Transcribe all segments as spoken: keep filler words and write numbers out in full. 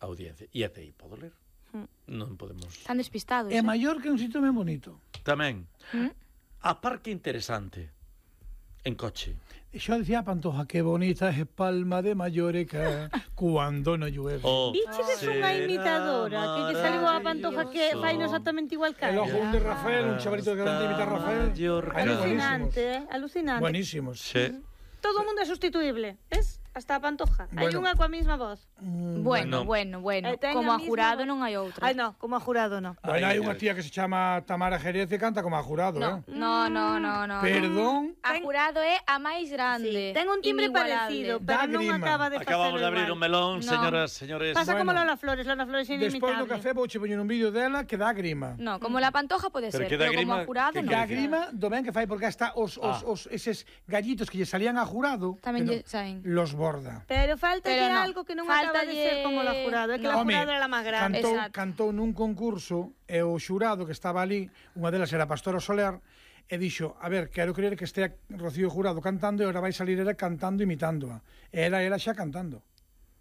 audiencia. E até aí podo ler. Non podemos... Están despistados. É maior que un sitio ben bonito. Tamén. ¿Mm? A parque interesante. En coche. Xa decía a Pantoja, que bonita é Palma de Mallorca cuando no llueve. Oh, Bichedes unha imitadora que lle saliu a Pantoja que fai no exactamente igual que El ela. ojo de Rafael, un chavalito que canta imitar a Rafael. Aí, Alucinante, eh? Alucinante. Buenísimos. Sí. Todo o mundo é sustituible, ves? Hasta a Pantoja. Hai Bueno. unha coa mesma voz. Bueno, No. bueno, bueno. E ten Como a a misma jurado voz. non hai outra. Ai, no, como a jurado, no. Bueno, Ay, hai unha ay. tía que se chama Tamara Jerez e canta como a jurado, No, eh? no, no, no, no. Perdón. A jurado é a máis grande. Ten un timbre inigualable. parecido, pero Da non grima. acaba de facelo Acabamos de abrir igual. un melón, No. señoras, señores. Pasa como Bueno. Lola Flores, Lola Flores é Despois do inimitable. café vou che poñer un vídeo dela que dá grima. No, como la Pantoja pode Pero ser, que dá pero como grima, a jurado que non. Da dice? grima do ben que fai porque hasta os, os, Ah. os eses gallitos que lle salían a jurado Tamén que lle saen. los borda. Pero falta Pero no. algo que non acaba de ser Fáltalle- como la jurado. É que la No. jurado era la máis grande. cantou, Exacto. cantou nun concurso e o xurado que estaba ali, unha delas era Pastora Soler, e dixo, a ver, quero creer que estea Rocío Jurado cantando e agora vai salir ela cantando imitándoa. E era ela xa cantando.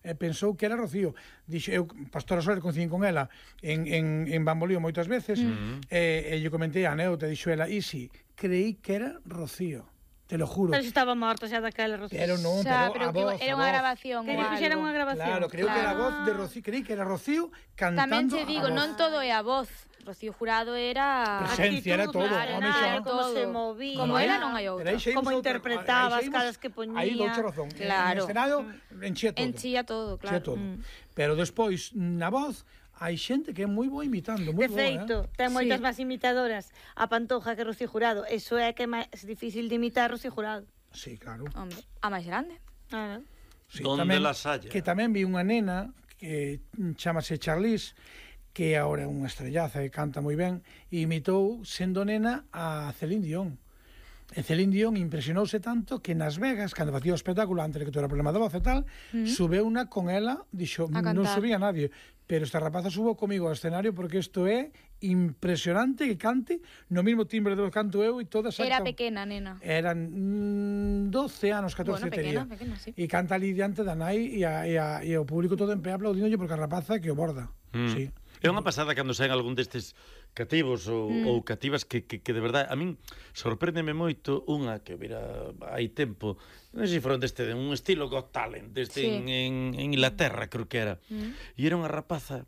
E pensou que era Rocío. Dixo, eu, Pastora Soler, coincidín con ela en, en, en Bambolío moitas veces, mm. e, e lle comentei a Neu, te dixo ela, e si, creí que era Rocío. Te lo juro. Pero se estaba morta xa daquela, Rocío. Pero non, Xa, pero, pero a que voz, era a unha voz. grabación Que ou lle fixeran algo. unha grabación. Claro, creo que era a Claro. voz de Rocío, creí que era Rocío cantando Tamén te a digo, voz. non todo é a voz. Rocío Jurado era... Presencia, era todo. Claro, Home, nada, xa. era como Todo. se movía. Como era, non hai outra. Pero aí xa Como imos outra- interpretaba, aí xa as imos- caras que poñía. Aí douche razón. Claro. En escenario enchía todo. Enchía todo, Enchía claro. todo. Mm. Pero despois, na voz, hai xente que é moi boa imitando, moi De boa, feito, eh? ten moitas Sí. máis imitadoras a Pantoja que Rocío Jurado. Eso é que é máis difícil de imitar Rocío Jurado. Sí, claro. Hombre, a máis grande. Ah, Sí, Donde las haya. Que tamén vi unha nena que chamase Charlize, que agora é unha estrellaza e canta moi ben, e imitou, sendo nena, a Celine Dion. E Celine Dion impresionouse tanto que nas Vegas, cando facía o espectáculo, antes de que tuera problema de voz e tal, mm. subeu unha con ela, dixo, A non cantar. subía nadie, pero esta rapaza subo comigo ao escenario porque isto é impresionante que cante no mismo timbre de voz canto eu e todas Era can- pequena, nena. Eran mm, doce anos, catorce Bueno, pequena, tería. pequena, sí. E canta ali diante da nai e, a, e, a, e o público todo en pé aplaudíndolle porque a rapaza que o borda. Mm. Sí. É unha pasada cando saen algún destes cativos ou, mm. ou cativas que, que, que de verdade a min sorpréndeme moito unha que vira hai tempo, non sei se foron deste de un estilo Got Talent desde Sí. en, en, en Inglaterra creo que era Mm. e era unha rapaza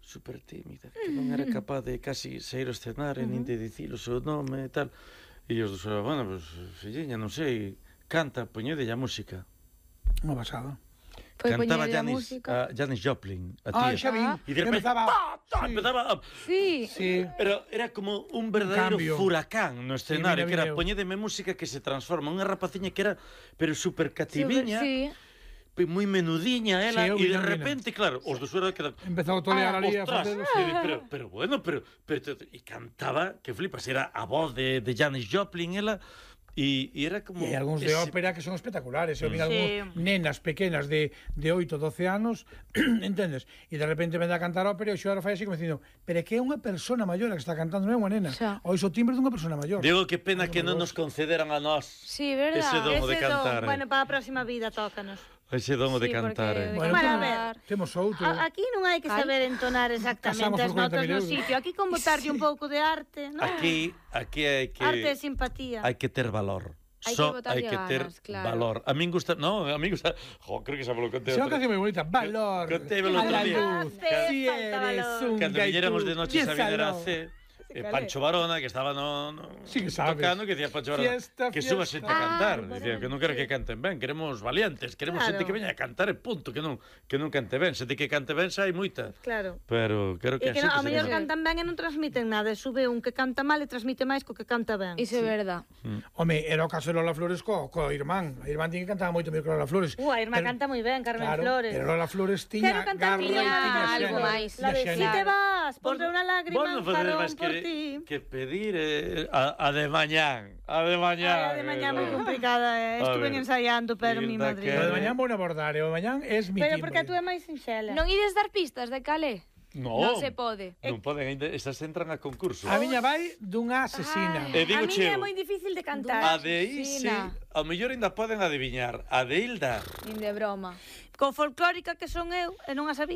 super tímida que non era capaz de casi sair ao escenario mm. nin de dicir o seu nome e tal e os dos, bueno, pues, filliña, non sei canta, poñede a música Unha pasada. Foi cantaba poñerlle a Janis, música. a Janis Joplin a Ah, tía. xa vi. Ah. E de repente empezaba... pa, pa, Sí. empezaba a... Sí. Sí. Pero era como un verdadeiro cambio. furacán no escenario, Sí, que mira, era mira. poñedeme música que se transforma, unha rapaciña que era pero super cativiña, Sí. moi menudiña ela, Sí, eu e vi, de eu vi, repente, claro, os dos era quedan Empezou a tolear Ah, ali a ostras, facer... e, pero, pero bueno, pero, pero e cantaba, que flipas, era a voz de, de Janis Joplin ela, e, e era como E hai algúns de ese- ópera que son espectaculares. Eu vi Mm. algúns Sí. nenas pequenas de, de oito, doce anos, entendes? E de repente vende a cantar ópera e o xoro fai así como dicindo, pero é que é unha persona maior a que está cantando, non é unha nena. Xa. Ois o timbre dunha persona maior. Digo, que pena que non nos concederan a nós Sí, verdad. ese don de ese cantar. don, bueno, para a próxima vida tócanos. Ese don de Sí, cantar. porque- eh. Bueno, Bueno, a cantar. ver. Temos outro. A- Aquí non hai que Ai. saber entonar exactamente Casamos as por notas cuarenta mil no euros. sitio. Aquí con botarlle un pouco de arte, non? Aquí, aquí hai que Arte e simpatía. hai que ter valor. Hai que Só botarlle hai que ter ganas, claro. valor. A min gusta, no, a min gusta, jo, creo que xa me lo conté. Se é unha outra- canción moi bonita, valor, Contémelo a outro la día. luz, Ah, si falta eres valor. un Cando gaitú, viñéramos de noche a viñer a piénsalo. C, eh, Pancho Varona, que estaba no, no Sí que sabes. tocando, que decía Pancho Varona, Fiesta, que suba fiesta. xente a cantar. Ah, Dicía que non quero que canten ben, queremos valientes, queremos Claro. xente que veña a cantar e punto, que non que non cante ben, xente que cante ben xa hai moita. Claro. Pero quero que E a que non, xente ao se mellor venga. cantan ben e non transmiten nada. E sube un que canta mal e transmite máis co que canta ben. Iso é verdad. Home, era o caso de Lola Flores co, co irmán. A irmán tiña que cantaba moito mellor que Lola Flores. Uh, a irmá Pero- canta moi ben, Carmen claro, Flores. pero Lola Flores tiña Quero cantar garra e tiña tiña algo xeño. máis. La de Tiña si xeño. te vas, pondré unha lágrima Vos non en facedes jarrón máis por que, ti. que pedir eh, a, a de mañán, a de mañán. Ai, a de mañá moi eh, complicada, eh. A Estuve ver, ensaiando, pero mi Hilda, madre. que- O de mañán vou abordar, e o de mañán es mi Pero timbre. porque a tú é máis sinxela. Non ides dar pistas de calé? No, Non se pode. Non poden, ainda, estas entran a concurso. A miña vai dunha asesina. E digo a mí cheo, é moi difícil de cantar. a de Isi, Asesina. ao mellor ainda poden adiviñar. A de Hilda, Nin de broma. Co folclórica que son eu, e non a sabía.